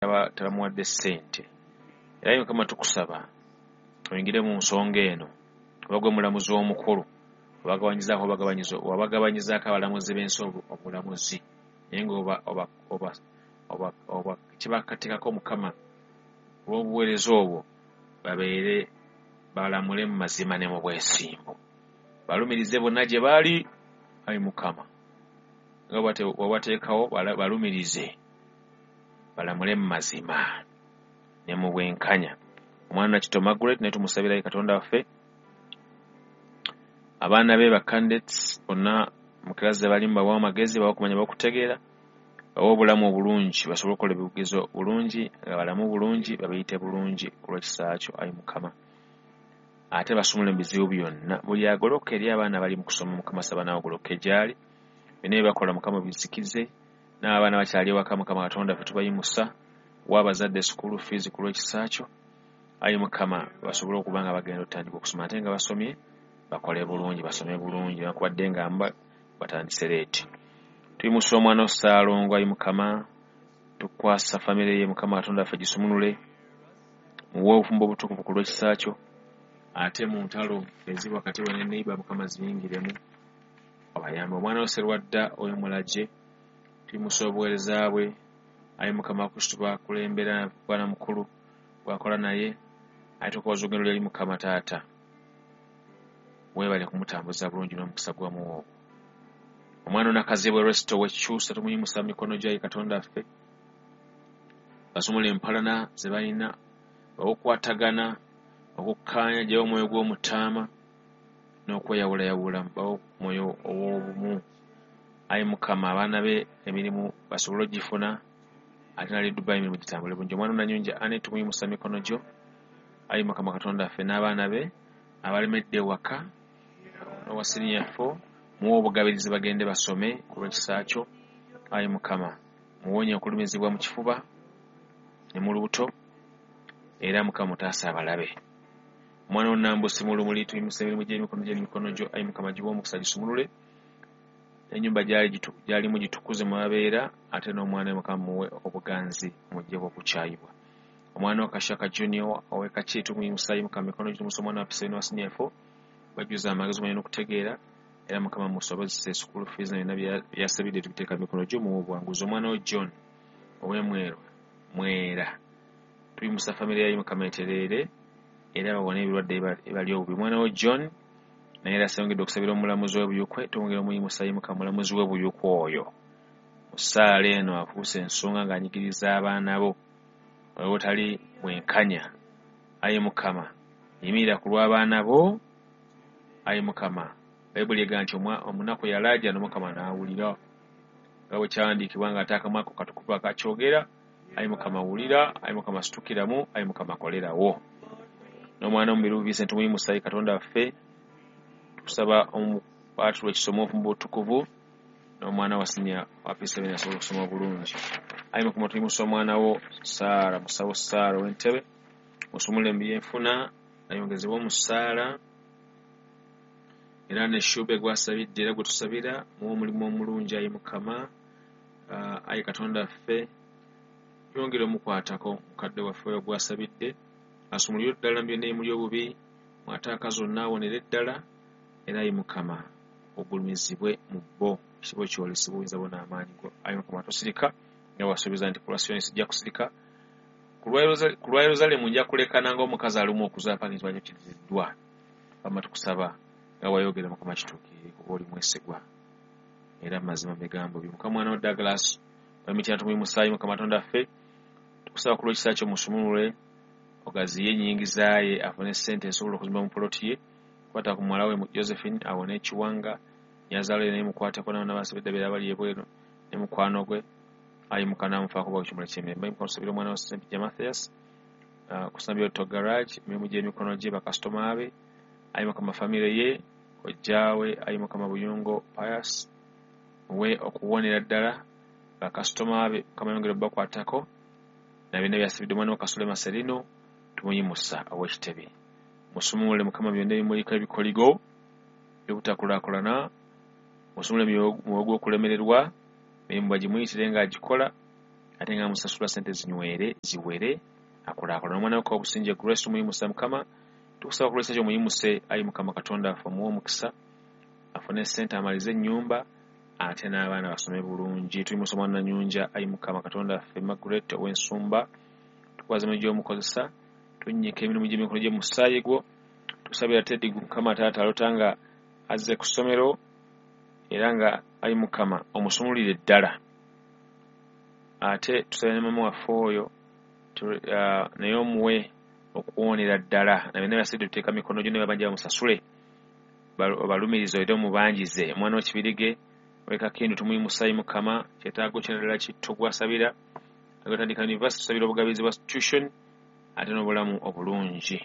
Tebamuwadde ssente. Era ayi Mukama tukusaba oyingire mu nsonga eno, oba gwe mulamuzi omukulu, wabagabanyizaako abalamuzi b'ensi obulamuzi, naye nga kibakateekako Mukama olw'obuweereza obwo babeere balamule mu mazima ne mu bwesimbu, balumirize bonna gye bali. Ayi Mukama nga wabateekawo balumirize, balamule mu mazima ne mu bwenkanya. Omwana Nakito Margaret naye tumusabira Katonda waffe, abaana be ba candidates bonna mu kirasi ze balimu bawe amagezi, bawe okumanya, bawe okutegeera, bawe obulamu obulungi, basobole okukola ebigezo bulungi, nga balamu bulungi, babiyite bulungi ku lw'ekisa kyo ayi Mukama. Ate basumule mu bizibu byonna. Buli agoloka eri abaana bali mu kusoma, Mukama saba naawe ogoloke gy'ali. Byonna bye bakola Mukama bizikize. N'abaana bakyali ewaka Mukama Katonda ffe tubayimusa, wa abazadde school fees ku lw'ekisa kyo ayi Mukama, basobole okuba nga bagenda otandika okusoma, ate nga basomye bakole bulungi, basome bulungi, nakubadde nga mba batandise leeti. Tuyimusa omwana Ssaalongo ayi Mukama, tukwasa famire ye Mukama Katonda waffe gisumulule, muwe obufumbo obutukuvu ku lw'ekisa kyo, ate mu ntalo eziri wakati we ne neighbor Mukama ziyingiremu obayambe. Omwana wo Sserwadda ow'Emulagye tuyimusa obuweereza bwe ayi Mukama Kristo bwakulembera bwana mukulu bwakola naye, ayi tukoza olugendo lyali Mukama taata, weebale kumutambuza bulungi n'omukisa gwamuwa ogwo. Omwana Nakazibwe Resto wekyusa tumuyimusa mu mikono gyayi Katonda ffe, basumula empalana ze balina, bawokwatagana okukkaanya, gyawo omwoyo gw'omutaama n'okweyawulayawula, bawo omwoyo ow'obumu. Ayi Mukama abaana be emirimu basobole ogifuna, ate nali Dubai emirimu gitambule bulungi. Omwana Nanyunja Ane tumuyimusa mikono gyo ayi Mukama Katonda ffe, n'abaana be abalemedde ewaka owa senior 4 muwe obugabirizi bagende basome ku lw'ekisa kyo ayi Mukama. Muwonye okulumizibwa mu kifuba ne mu lubuto, era Mukama mutaasa abalabe. Omwana Onnambusi mulumuli tuyimusa emirimu gy'emikono gy'emikono gyo ayi Mukama, giwe omukisa gisumulule, ennyumba gyalimu gitukuze mwabeera, ate n'omwana we Mukama muwe obuganzi muggyeko okukyayibwa. Omwana wa Kashaka Junior ow'e tumuyimusa ayi Mukama mikono gyo, tumusa omwana wa P7 wa senior 4, bajjuza amagezi omanye n'okutegeera, era Mukama musobozese school fees na byonna byasabidde tubiteeka mu mikono gyo, muwe obuwanguzi. Omwana we John ow'Emwerwa Mwera tuyimusa famire yayi Mukama etereere, era bawone ebirwadde ebali obubi. Omwana we John naye era asengedde okusabira omulamuzi w'Ebuyukwe, twongera omuyimusa ayi Mukama omulamuzi w'Ebuyukwe oyo mu ssaala eno afuuse ensonga ng'anyigiriza abaana bo obutali bwenkanya. Ayi Mukama yimirira ku lw'abaana bo ayi Mukama. Bayibuli egamba nti omunaku yalaajana Mukama n'awulira, nga bwe kyawandiikibwa ng'ate akamwa ko katukuvu akakyogera. Ayi Mukama wulira, ayi Mukama situkiramu, ayi Mukama kolerawo. N'omwana Omubiru Vincent tumuyimusa ayi Katonda waffe, tukusaba omukwatulwa ekisomo ofumba obutukuvu, n'omwana wa senior wa P7 asobole okusoma obulungi. Ayi Mukama tuyimusa omwana wo Saara, musawo Saara ow'Entebe, musumule mu byenfuna, ayongezebwe omusaala, era ne Shube gwasabidde era gwe tusabira muwe omulimu omulungi ayi Mukama. Ayi Katonda ffe yongere omukwatako mukadde waffe oyo gwasabidde, asumulire ddala mu byonna ebimuli obubi, mwataaka zonna awonere ddala, era ayi Mukama ogulumizibwe mu bo, ekitiibwa kyolesebwe obuyinza bwo n'amaanyi go. Ayi Mukama tosirika, nga wasuubiza nti ku lwa Siyoni sijja kusirika, ku lwa Yerusaalemu nja kulekana ng'omukazi alumu okuzaala paka ekibanja kiriziddwa. Mukama tukusaba nga wayogera Mukama kituukirire, kuba oli mwesigwa era mazima mu bigambo byo. Mukama mwana wa Douglas w'Emityana tumuyimusa ayi Mukama Katonda ffe, tukusaba ku lw'ekisa kyo musumulule ogaziye ennyingiza ye, afune ssente esobola okuzimba mu poloti ye, kwata ku muwala we Josephine awone ekiwanga, nyazaala ye naye mukwateko, n'abaana basabidde beera abali ebweru ne mukwano gwe ayi Mukama namufaako bawe ekimuli ky'emirembe. Ayi Mukama tusabire omwana wa Ssempijja Mathias kusambya Auto Garage, emirimu gy'emikono gye, bakasitoma be ayi Mukama, famire ye, kojjaawe ayi Mukama Buyungo Pius muwe okuwonera ddala, bakasitoma be Mukama yongere obbakwatako na byonna byasabidde. Omwana wa Kasule Maserino tumuyimusa ow'Ekitebe, musumulule Mukama byonna ebimuliko ebikoligo by'obutakulaakulana, musumule mwoyo gw'okulemererwa, emirimu bagimuyitire ng'agikola. ate nga amusasula sente zinywere ziwere akulaakulana. Omwana we Kobusinje Grace tumuyimusa Mukama, tukusaba kulwesa kyo omuyimuse ayi Mukama Katonda affe, omuwe omukisa afune sente amalize ennyumba ate n'abaana basome bulungi. Tuyimusa omwana Nanyunja ayi Mukama Katonda affe Margaret ow'ensumba, tukwaza emirimu gy'omukozesa, tunnyika emirimu gy'emikono gye mu musaayi gwo. Tusabira Teddy Mukama taata alota nga azze ku ssomero era nga ayi Mukama omusumulire ddala. Ate tusabira ne maama waffe oyo naye omuwe okuwonera ddala, na byonna byasidde tuteeka mikono gyo ne babanja bamusasule obalumirize era omubanjize. Omwana w'Ekibirige ow'e tumuyimusa ayi Mukama, kyetaago kye ddala kitto gw'asabira agatandika university, tusabira obugabizi bwa tuition ate n'obulamu obulungi.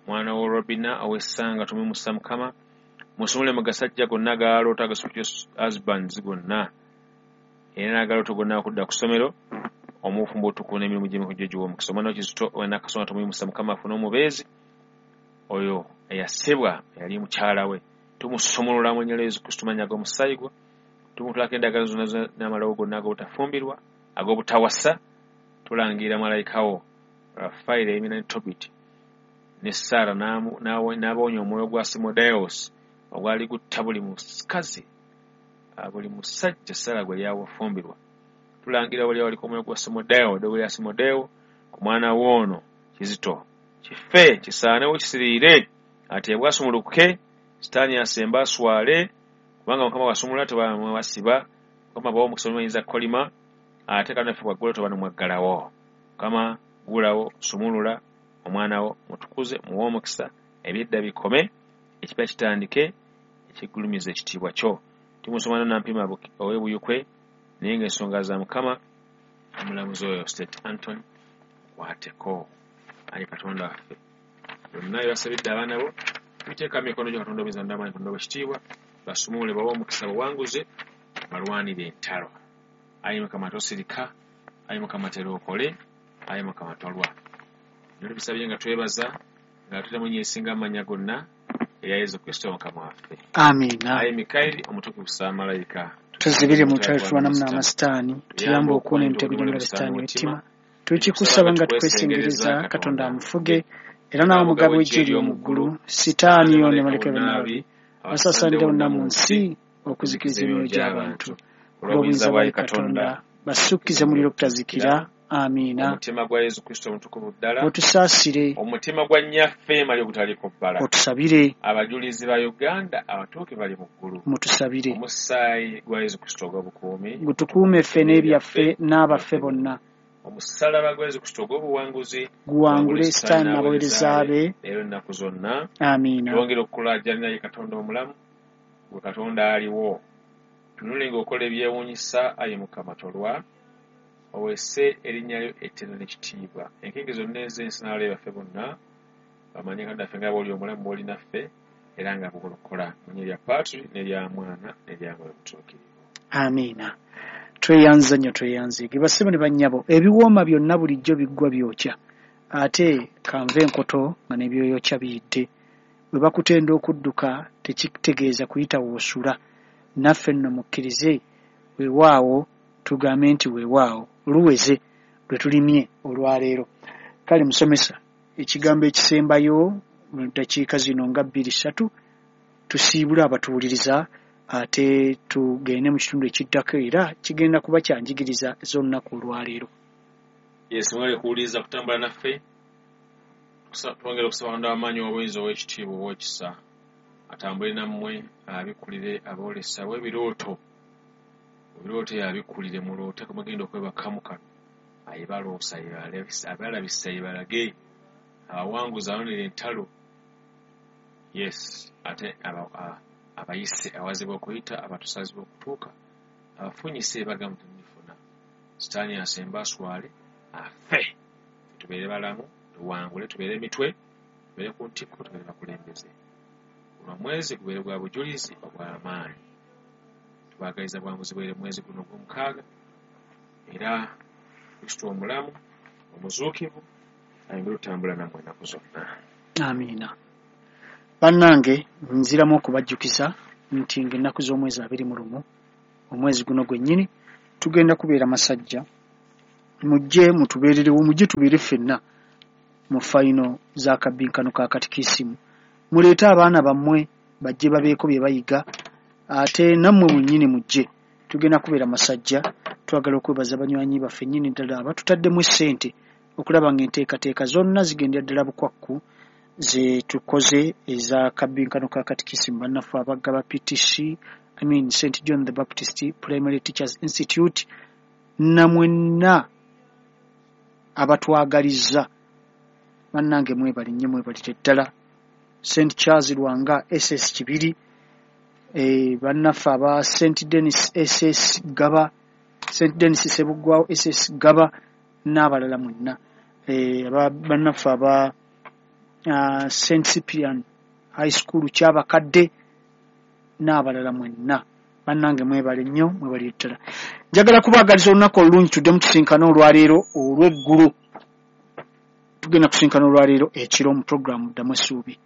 Mwana wo Robina ow'essanga tumuyimusa Mukama, musumule mu gasajja gonna galoota aga spiritual husbands gonna era n'agaloota gonna okudda ku ssomero, omufumbo otukuvu n'emirimu gy'emikono gye giwe omukisa. Omwana w'Ekizito ow'Nakasonga tumuyimusa Mukama, afune omubeezi oyo eyasibwa eyali mukyala we, tumusumulula mu linnya lya Yesu Kristo, mannya ag'omusaayi gwo. Tumutulako endagaano zonna zonna n'amalawo gonna ag'obutafumbirwa ag'obutawasa. Tulangira malayika wo Rafairi eyimira ne Tobit ne Saara n'abawonya omwoyo gwa Asimodeus ogwali gutta buli mukazi buli musajja Saara gwe yafumbirwa. Tulangira wali waliko omwoyo gwa Asimodewo, eddogo lya Asimodewo ku mwana w'ono Kizito kife kisaanewo kisiriire, ateebwe asumulukuke, Sitaani asembe aswale, kubanga Mukama wasumulula tebamwasiba. Mukama bawa omukisa omumayinza kukolima, ate Katonda ffe bwaggulawo tebana mwaggalawo. Mukama ggulawo, sumulula omwana wo, mutukuze, muwe omukisa, ebyedda bikome, ekipya kitandike, ekigulumiza ekitiibwa kyo. Tumusoma Nampima ow'Ebuyukwe, naye ng'ensonga za Mukama omulamuzi oyo State Anton kwateko. Ayi Katonda waffe, byonna byebasabidde abaana bo tubiteeka mu mikono gyo Katonda obuyinza n'amaanyi, Katonda ow'ekitiibwa, basumulule, bawe omukisa, bawanguze, balwanire entalo. Ayi Mukama tosirika, ayi Mukama tera okole, ayi Mukama tolwa. Bino tubisabye nga twebaza nga tuyita mu esinga amannya gonna erya Yesu Kristo Mukama waffe. Amiina. Ayi Mikayiri omutukuvu ssaamalayika, tuzibire mu lutalo tulwanamu n'amasitaani, tuyambe okuwona emitego gyonna sitaani w'ettima. Tukikusaba nga tukwesengereza Katonda amufuge, era nawe omugabe w'eggye ery'omu ggulu sitaani yo ne malayika bonna ababi abasaasaanira wonna mu nsi okuzikiriza emyoyo gy'abantu, olw'obuyinza bwa Katonda basukkize muliro okutazikira. Amiina. Omutima gwa Yesu Kristo omutukuvu ddala, otusaasire. Omutima gwa nnyaffe Mariya ogutaliiko bbala, otusabire. Abajulizi ba Uganda abatuuke bali mu ggulu, mutusabire. Omusaayi gwa Yesu Kristo ogw'obukuumi gutukuume ffe n'ebyaffe n'abaffe bonna. Omusalaba gwa Yesu Kristo ogw'obuwanguzi guwangule sitaani n'abaweereza be leero ennaku zonna. Amiina. Twongere okukulaajanira ye Katonda omulamu, gwe Katonda aliwo, tunule ng'okola ebyewuunyisa. Ayi Mukama tolwa, oweese erinnya lyo ettendo n'ekitiibwa. Enkingi zonna ez'ensi n'abalabe baffe bonna bamanye Katonda ffe nga bw'oli omulamu, bw'oli naffe era nga bw'olokola, mu linnya lya Patri n'erya Mwana n'erya Mwoyo Mutuukirivu. Amiina. Tweyanza nnyo, tweyanzeege bassebo ne bannyabo. Ebiwooma byonna bulijjo biggwa byokya, ate kanva enkoto nga n'ebyoyokya biyidde. Bwe bakutenda okudduka tekitegeeza kuyita woosula. Naffe nno mukkirize, weewaawo tugambe nti weewaawo luweze lwe tulimye olwaleero. Kale musomesa, ekigambo ekisembayo mu ddakiika zino nga 2 3, tusiibule abatuwuliriza ate tugende mu kitundu ekiddako, era kigenda kuba kyanjigiriza z'olunaku olwaleero. Yes, mwebale kuwuliriza kutambula naffe. Twongera okusaba Katonda w'amaanyi, ow'obuyinza, ow'ekitiibwa, ow'ekisa, atambule nammwe, abikkulire aboolesa ebirooto, ebirooto eyo abikkulire, muloote mugenda okwebakamu kano, ayibaloosa, abalabisa, ayibalage, abawanguzi, alwanire entalo. Yes, ate abayise awazibwa okuyita, abatusazibwa okutuuka, abafunyise ebagamu temulifuna. Sitaani asembe aswale afe, tubeere balamu, tuwangule, tubeere emitwe, tubeere ku ntikko, tubeere bakulembeze. Guno omwezi gubeere gwa bujulizi obw'amaanyi. Tubagaliza bwanguzi bwere mwezi guno ogw'omukaaga, era Kristo omulamu omuzuukivu ayongere otambula nammwe ennaku zonna. Amiina. Bannange, nziramu okubajjukiza nti ng'ennaku z'omwezi 21 omwezi guno gwennyini tugenda kubeera Masajja Mujje mutubeererewo, mujje tubeere ffenna mu fayino z'akabbinkano ka katikisimu. Muleete abaana bammwe bajje babeeko bye bayiga, ate nammwe mwennyini mujje. Tugenda kubeera Masajja. Twagala okwebaza banywanyi baffe nnyini ddala abatutaddemu essente okulaba ng'enteekateeka zonna zigendera ddala bukwakku ze tukoze ez'akabbinkano ka katikisimu. Bannaffe abagaba PTC, I mean St John the Baptist Primary Teachers Institute, namwenna abatwagalizza, bannange mwebale nnyo, mwebalire ddala. St Charles Lwanga SS Kibiri, bannaffe aba St Denis SS Gaba, St Denis Sebuggwawo SS Gaba n'abalala mwenna, bannaffe aba St Cyprian High School Kyabakadde n'abalala mwenna, bannange mwebale nnyo, mwebalire ddala. Njagala kubaagaliza olunaku olulungi. Tuddemu tusinkane olwaleero olw'eggulo. Tugenda kusinkana olwaleero ekiro mu puroguramu Ddamu Essuubi.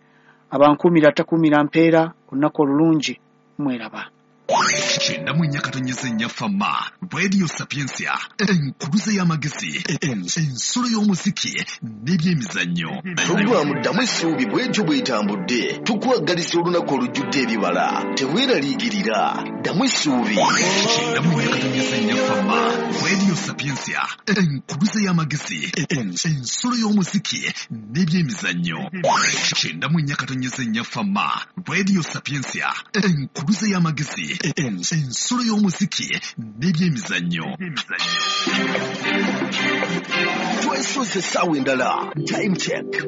Abankuumira atakuumira mpeera, olunaku olulungi, mweraba. 94.4 Fama Radio Sapientia, enkuluze y'amagezi, ensolo y'omuziki n'ebyemizannyo. Pulogulaamu Ddamu Essuubi bw'etyo bw'etambudde. Tukwagaliza olunaku olujjudde ebibala. Teweeraliikirira, ddamu essuubi. 94.4 Fama Radio Sapientia, enkuluze y'amagezi, ensolo y'omuziki n'ebyemizannyo. 94.4 Fama Radio Sapientia, enkuluze y'amagezi, ensolo y'omuziki n'ebyemizannyo. Twesoose essaawa endala. Time check.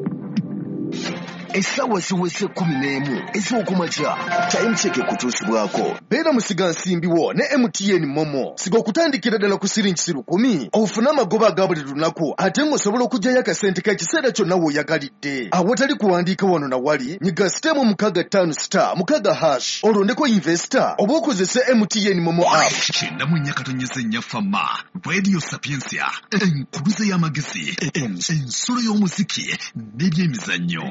Essaawa ziweze 11 ez'okumakya. Time check ekutuusibwako beera musigansimbi wo ne MTN MoMo. Siga okutandikira ddala ku siringi 1,000 ofune amagoba aga buli lunaku, ate ng'osobola okuggyayo akasente k'ekiseera kyonna w'oyagalidde awatali kuwandiika wano na wali. Nyiga *656*6# olondeko investor oba okozese MTN MoMo app. 94.4 Fama Radio Sapientia, enkuluze y'amagezi, ensolo y'omuziki n'ebyemizannyo.